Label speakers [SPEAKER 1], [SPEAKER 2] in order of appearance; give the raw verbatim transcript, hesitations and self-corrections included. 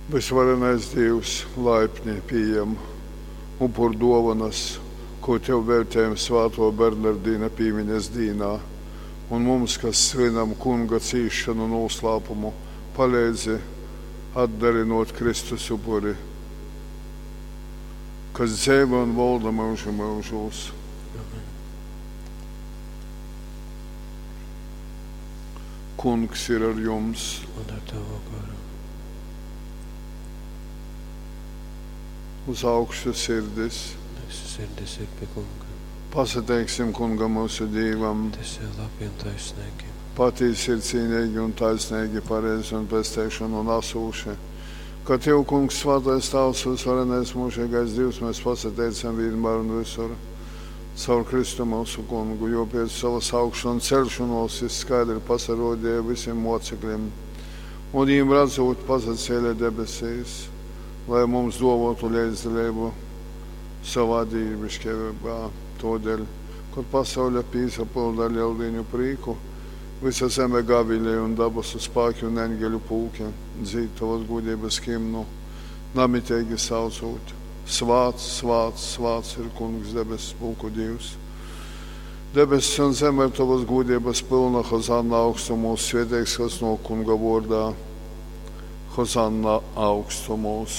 [SPEAKER 1] Vysvarenais Dīvs, laipni pījem upurduovanas, kū Tev veļtejam svātuo Bernardina pīmiņas dīnā, un mums, kas svynam Kunga cīsšonu nūslāpumu, paleidzi atdarinuot Kristus upuri, kas dzeivoj un volda myužu myužūs.
[SPEAKER 2] Amen.
[SPEAKER 1] Kungs ir ar jums!
[SPEAKER 2] Un ar tavu goru.
[SPEAKER 1] Uz augšu sirdis!
[SPEAKER 2] Mūsu sirdis ir pie Kunga.
[SPEAKER 1] Pasateiksim Kungam mūsu Dīvam!
[SPEAKER 2] Tas ir labi un taisnīgi.
[SPEAKER 1] Patīsi ir cīnīgi un taisnīgi, pareizi un pesteišanu nesūši. Ka Tev, Kungs, svētais Tavs, visvarenais mūžīgais Dievs, mēs pasateicam vienmēr un visur. Caur Kristu mūsu kungu, jo pēc savas augšanu un celšanos jis skaidri pasarodīja visiem mocekļiem. Un viņiem redzot, pasacēla debesīs, lai mums dovotu līdzdalību savā dīvišķībā. Todēļ, kad pasaule pīsapilda ar lieldiņu prīku, visa zeme gavilē un dabasu spēki un eņģeļu pulki dzīd tavas gudrības himnu, namitīgi saucot: Svāts, svāts, svāts ir Kungs debesu pulku Dievs. Debesis un zeme ir tavas gudrības pilna, Hozanna augstumos, svētīgs, kas no Kunga vārdā. Hozanna augstumos.